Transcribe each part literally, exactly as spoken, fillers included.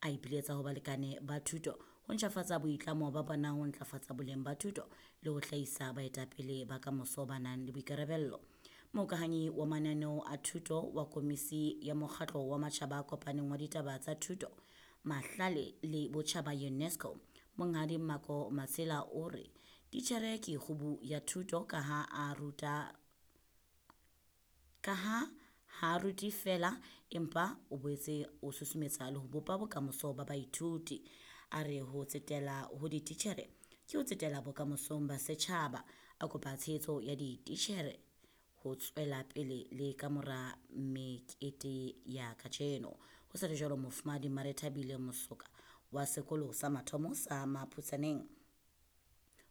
A ipiletsa ho balekane ba thuto ho ntjhafatsa boitlamo ba bona ho ntlafatsa boleng ba thuto le ho hlahisa baetapele ba kamoso ba nang le boikarabello. Mohokahanyi wa mananeo a thuto wa Komisi ya Mokgatlo wa Matjhaba a Kopaneng wa Ditaba tsa Thuto, Mahlale le Botjhaba UNESCO, Monghadi Mako Matsila o re titjhere ke kgubu ya thuto kaha a ruta kaha ha rute feela empa o boetse o susumetsa le ho bopa bokamoso ba baithuti. A re ho tsetela ho dititjhere ke ho tsetela bokamosong ba setjhaba. A kopa tshehetso ya dititjhere ho tswela pele le kamora mekete ya kajeno. Ho sa le jwalo, Mofumahadi Marethabile Mosoka wa sekolo sa mathomo sa Maphutsaneng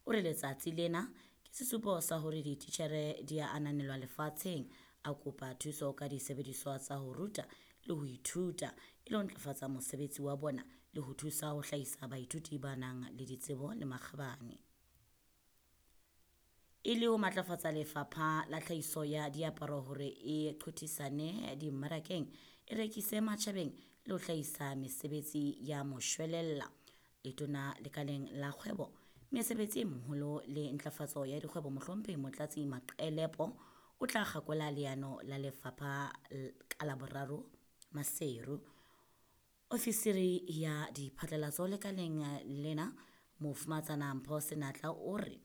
o re letsatsi lena ke sesupo sa hore dititjhere di a ananelwa lefatsheng. A kopa thuso ka disebediswa tsa ho ruta le ho ithuta e le ho ntlafatsa mosebetsi wa bona le ho thusa ho hlahisa baithuti ba nang le ditsebo le makgabane. E le ho matlafatsa lefapha la tlhahiso ya diaparo hore e qothisane dimmarakeng, e rekise matjhabeng le ho hlahisa mesebetsi ya moshwelella. Letona lekaleng la kgwebo, mesebetsi e meholo le ntlafatso ya dikgwebo Mohlomphehi Motlatsi Maqelepo o tla kgakola leano la lefapha ka Laboraro Maseru. Ofisiri ya diphatlalatso lekaleng lena Mofumahatsana Mpho Senatla o re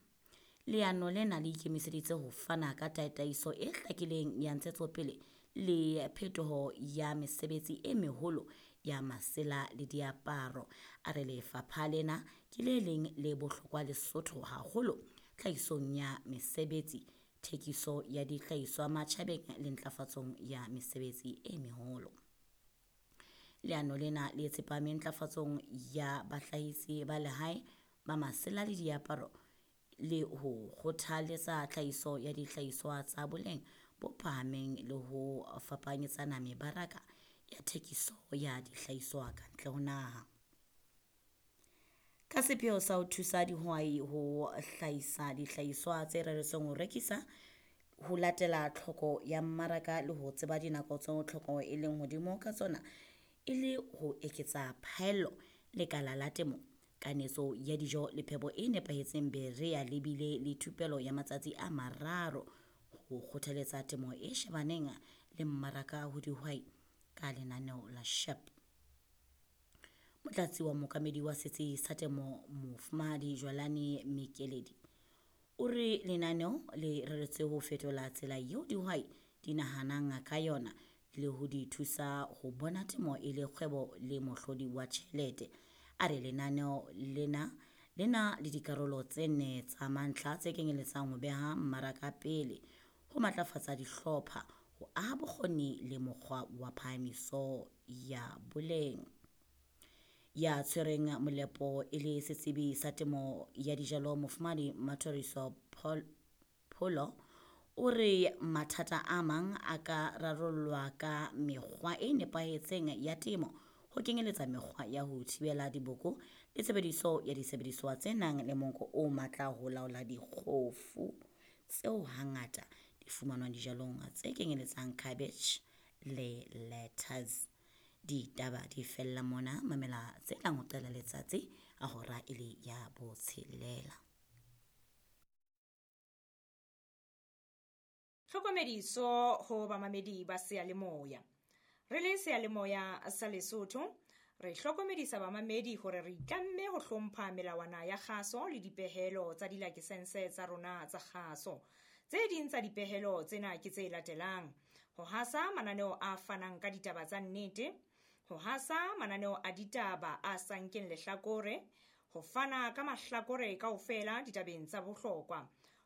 leano lena le ikemiseditse ho fana ka tataiso e hlakileng ya ntshetsopele le phetoho ya mesebetsi e meholo ya masela le diaparo. A re lefapha lena ke le leng le bohlokwa Lesotho haholo tlhahisong ya mesebetsi, thekiso ya dihlahiswa matjhabeng le ntlafatsong ya mesebetsi e meholo. Leano lena le tsepame ntlafatsong ya bahlahisi ba lehae ba masela le diaparo le ho kgothaletsa tlhahiso ya dihlahiswa tsa boleng bo phahameng le ho fapanyetsana mebaraka ya thekiso ya dihlahiswa ka ntle ho naha. Ka sepheo sa ho thusa dihwai ho hlahisa dihlahiswa tse reretsweng ho rekisa, ho latela tlhoko ya mmaraka le ho tseba dinako tseo tlhoko e leng hodimo ka tsona e le ho eketsa phaello, lekala la temo, kanetso ya dijo le phepo e nepahetseng Berea le bile le thupelo ya matsatsi a mararo ho kgothaletsa temo e shebaneng le mmaraka ho dihwai ka lenaneo la SHEP. Motlatsi wa mookamedi wa setsi sa temo Mofumahadi Jwalane Mekeledi o re lenaneo le reretswe ho fetola tsela eo dihwai di nahanang ka yona le ho di thusa ho bona temo e le kgwebo le mohlodi wa tjhelete. A re lenaneo lena le na le dikarolo tse nne tsa mantlha tse kenyeletsang ho beha mmaraka pele, ho matlafatsa dihlopha, ho aha bokgoni le mokgwa wa phahamiso ya boleng. Ya tshwereng molepo e le setsebi sa temo ya dijalo Mofumahadi Mathoriso Pholo o re mathata a mang a ka rarollwa ka mekgwa e nepahetseng ya temo, ho kenyeletsa mekgwa ya ho thibela diboko le tshebediso ya disebediswa tse nang le monko o matla ho laola dikgofu tseo hangata di fumanwang dijalong tse kenyeletsang cabbage le lettuce. Ditaba di fella mona, mamela tse tlang ho qala letsatsi a hora e le ya botshelela. Tlhokomediso ho bamamedi ba seyalemoya. Re le seyalemoya sa Lesotho, re hlokomedisa bamamedi hore re itlamme ho hlompha melawana ya kgaso le dipehelo tsa dilakesense tsa rona tsa kgaso. Tse ding tsa dipehelo tsena ke tse latelang: ho hasa mananeo a fanang ka ditaba tsa nnete, ho hasa mananeo a ditaba a sa nkeng lehlakore, ho fana ka mahlakore kaofela ditabeng tsa bohlokwa,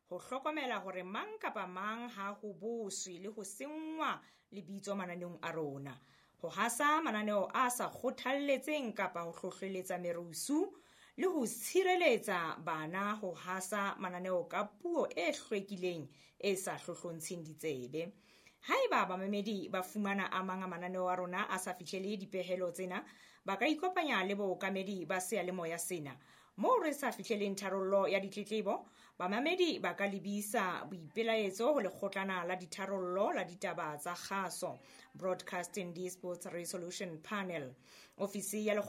ho hlokomela hore mang kapa mang ha ho boswe le ho senngwa lebitso mananeong a rona, ho hasa mananeo a sa kgothalletseng kapa ho hlohleletsa merusu, le ho tshireletsa bana ho hasa mananeo ka puo e hlwekileng e sa hlohlontsheng ditsebe. Haeba bamamedi ba fumana a mang a mananeo a rona a sa fihlele dipehelo tsena, ba ka ikopanya le bookamedi ba seyalemoya sena. Moo re sa fihleleng tharollo ya ditletlebo, bamamedi ba ka lebisa boipelaetso ho lekgotlana la ditharollo la ditaba tsa kgaso, Broadcasting Disputes Resolution Panel. Ofisi ya